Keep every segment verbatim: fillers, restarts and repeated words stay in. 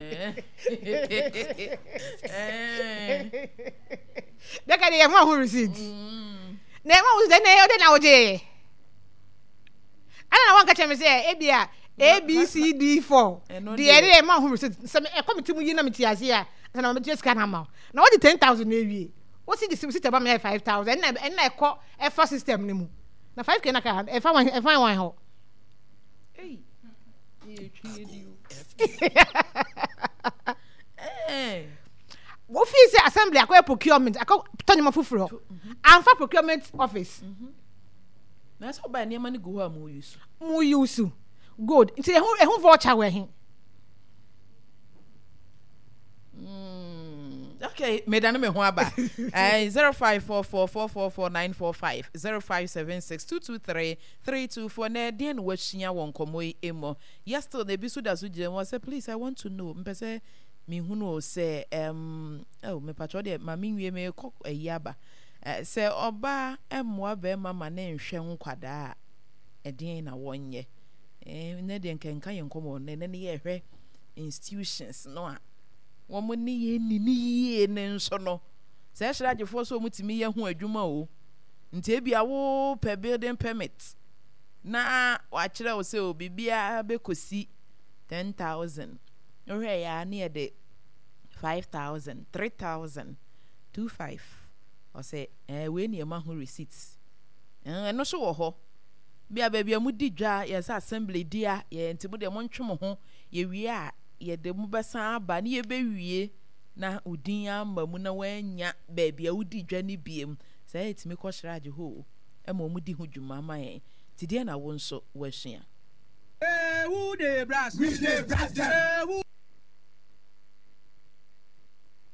Dɛka de yɛ mo aho receipt. Na ɛma wo sɛ na ɛyɛ ɔdɛ na wogye yɛ. Ɛna na wɔnka kyerɛ me sɛ ebi a A B C D four. Deɛ ɛde yɛ ma ho receipt. Sɛ ɛkɔ me ti mu yi na me ti ase a, sɛ na wɔbɛtua sika na ama wo. Na wɔde ten thousand na ewie. Wosi de receipt ɛba me yɛ five thousand. Ɛna ɛna ɛkɔ ɛfa system no mu. Na five k na ka ɛfa wɔn ɛfa wɔn hɔ. Ei. Wofii sɛ assembly akɔyɛ procurement akɔ tɔ nneɛma foforɔ amfa procurement office. Na sɛ ɔbaa nneɛma no gu hɔ a mo use. Mo use good nti ɛho ɛho voucher wɔ ɛhe. Mm, okay, medane me ho aba. uh, zero five four four four four four nine four five zero five seven six two two three three two four. Na ɛdeɛn na wasua wɔ nkɔmmɔ yi mu? Yes, still na ebi so da so gyina mu sɛ please I want to know. Mpɛ sɛ mehunu o sɛ um, oh, mepatwɛ deɛ ma menwie mekɔ ayi aba. Uh, sɛ ɔbaa mmoa bɛrima ma ne nhwɛ nkwadaa a ɛdeɛn na wɔnyɛ? Eh, nɛ deɛ nka nka yɛn nkɔmmɔ nɛ nɛ ne yɛhwɛ institutions no a wɔn ne yɛn nni ne yie ne nso no sɛ ɛhyerɛ agyefoɔ sɛ wɔn tumi yɛ ho adwuma o nti ebi a wopɛ building permit na wakyerɛ wo sɛ o biribiara bɛkɔsi ten thousand wohwɛ yɛ a ne yɛde five thousand three thousand two five ɔsɛ ɛɛ wei ne ɛma ho receipt ɛno nso wɔ hɔ bi a baabi a modi dwa yɛ sɛ assembly di a yɛ nti mo deɛ montwe mo ho yɛwie a yɛde mo bɛsan aba ne yɛbɛwie na wo din ama mu na woanya baabi a wodi dwa no biem saa yɛtumi kɔ sragye hɔ o ɛma wɔn di ho dwuma ma yɛn nti deɛ na wo nso woasua. Who dey brass? We dey brass them. Who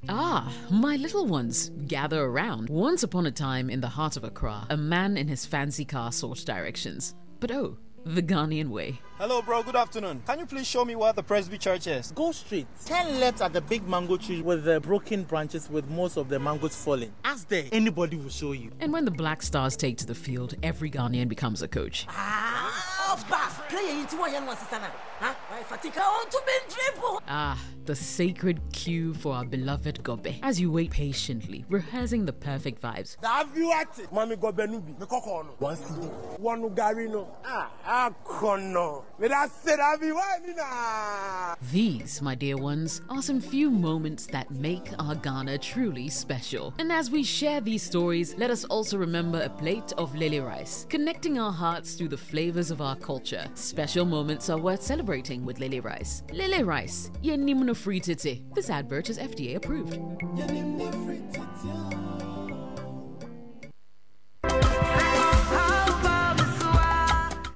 Ah, my little ones, gather around. Once upon a time in the heart of Accra, a man in his fancy car sought directions. But oh, the Ghanaian way. Hello, bro. Good afternoon. Can you please show me where the Presby Church is? Go straight. Turn left at the big mango tree with the broken branches with most of the mangoes falling. Ask there. Anybody will show you. And when the Black Stars take to the field, every Ghanaian becomes a coach. Ah, Ah, the sacred queue for our beloved Gobe. As you wait patiently, rehearsing the perfect vibes. Mami gobe nubi. Me koko no. One cedi. One gari no. Ah, akono. Me da say that be why ni na. These, my dear ones, are some few moments that make our Ghana truly special. And as we share these stories, let us also remember a plate of lily rice, connecting our hearts through the flavors of our culture. Special moments are worth celebrating with lily rice. Lily rice, yenimno free titi. This advert is F D A approved.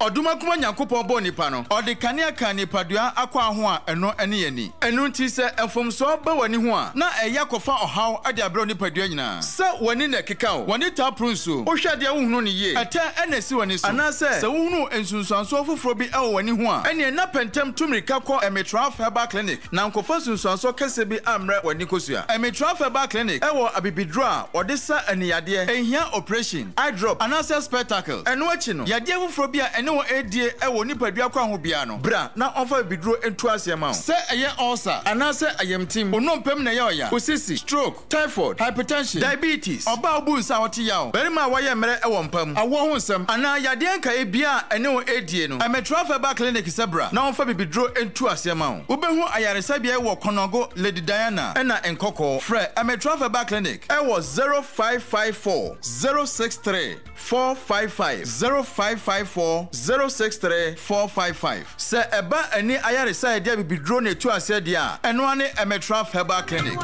Odumakuma Nyankopɔn bɔ nipa no ɔde kanea ka nipadua akɔ aho a ɛno ɛne yɛni ɛno nti sɛ mfomsoɔ ba w'ani ho a na ɛyɛ akɔfa ɔhaw ade abrɛ nipadua nyinaa sɛ w'ani na ɛkeka wo w'ani taa pro nsuo wohwɛ adeɛ wohunu ne yie ɛtɛ ɛna esi w'ani so anaasɛ sɛ wohunu nsunsuansoɔ foforɔ bi ɛwɔ w'ani ho a ɛneɛ na pɛntɛm tu mmirika kɔ Emitraf Herbal Clinic na nkɔfa nsunsuansoɔ kɛseɛ bi ammrɛ w'ani kosua. Emitraf Herbal Clinic ɛwɔ abibiduro a wɔde sa aniyadeɛ ɛnhia operation, eye drop anaasɛ spectacle. Ɛno akyi no yadeɛ foforɔ bi a ɛne wɔn ɛredie ɛwɔ nipadua kwan ho biara no bra na ɔmfa bibiduro ntu aseɛ ma wo. Sɛ ɛyɛ ulcer anaasɛ ayamtim, onompem na ɛyɛ ɔya, osisi, stroke, typhoid, hypertension, diabetes, ɔbaa obu nsa a ɔte yaw, barima a wayɛ mmerɛ ɛwɔ mpa mu, awoɔ ho nsɛm anaa yadeɛ nkaeɛ biara a ɛne wɔn ɛredie no, Emitraf Herbal Clinic sɛ bra na ɔmfa bibiduro ntu aseɛ ma wo. Wobɛhu ayaresabea wɔ Kɔnɔgo, Lady Diana ɛna Nkɔkɔɔ. Frɛ Emitraf Herbal Clinic ɛwɔ zero five five four zero six three four five five zero five five four zero six three four five five. Sɛ ɛba ani ayaresa yɛde abibiduro na etu aseɛ deɛ a, ɛno ara ne Emitraf Herbal Clinic.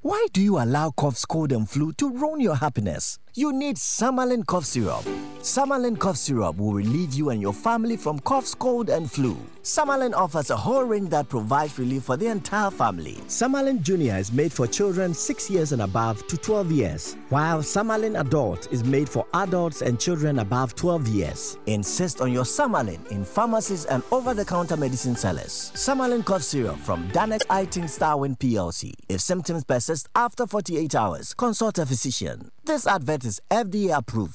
Why do you allow coughs, cold and flu to ruin your happiness? You need Samalin cough syrup. Samalin cough syrup will relieve you and your family from coughs, cold, and flu. Samalin offers a whole range that provides relief for the entire family. Samalin Junior is made for children six years and above to twelve years, while Samalin Adult is made for adults and children above twelve years. Insist on your Samalin in pharmacies and over-the-counter medicine sellers. Samalin cough syrup from Danex Itin Starwin P L C. If symptoms persist after forty-eight hours, consult a physician. This advert is F D A approved.